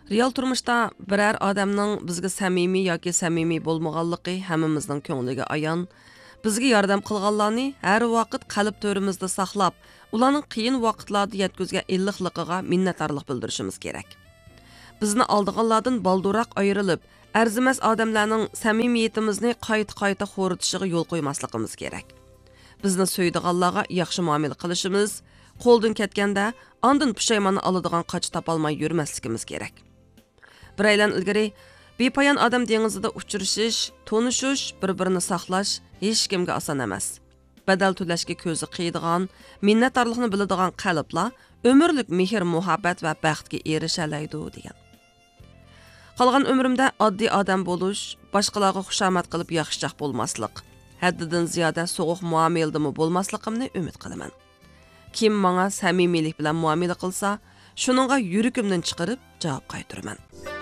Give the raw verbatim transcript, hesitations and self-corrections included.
رېئال تۇرمۇشتا بىرەر ئادەمنىڭ بىزگە سەمىمىي ياكى سەمىمىي بولمىغانلىقى ھەممىمىزنىڭ كۆڭلىگە ئايان. بىزگە ياردەم قىلغانلارنى ھەر ۋاقىت قەلب تۆرىمىزدە ساقلاپ، ئۇلارنىڭ قىيىن ۋاقىتلاردا يەتكۈزگەن ئىللىقلىقىغا مىننەتدارلىق بىلدۈرۈشىمىز كېرەك. بىزنى ئالدىغانلاردىن بالدۇرراق ئايرىلىپ، ئەرزىمەس ئادەملەرنىڭ سەمىمىيىتىمىزنى قايتا-قايتا خورىتىشىغا يول قويماسلىقىمىز كېرەك. بىزنى سۆيىدىغانلارغا ياخشى مۇئامىلە قىلىشىمىز، قولدىن كەتكەندە ئاندىن پۇشايماننى ئالىدىغان قاچا تاپالماي يۈرمەسلىكىمىز كېرەك. بىر ئايلان ئىلگىرى، بىپايان ئادەم دېڭىزىدا ئۇچرىشىش، تونۇشۇش، بىر-بىرىنى ساقلاش ھېچكىمگە ئاسان ئەمەس. بەدەل تۆلەشكە كۆزى قىيىدىغان، مىننەتدارلىقنى بىلىدىغان قەلبلا ئۆمۈرلۈك مېھىر-مۇھەببەت ۋە بەختكە ئېرىشەلەيدۇ، دېگەن. قالغان ئۆمرۈمدە ئاددىي ئادەم بولۇش، باشقىلارغا خۇشامەت قىلىپ ياخشىچاق بولماسلىق، ھەددىدىن زىيادە سوغۇق مۇئامىلىدىمۇ بولماسلىقىمنى ئۈمىد قىلىمەن. كىم ماڭا سەمىمىيلىك بىلەن مۇئامىلە قىلسا، شۇنىڭغا يۈرىكىمدىن چىقىرىپ جاۋاب قايتۇرىمەن.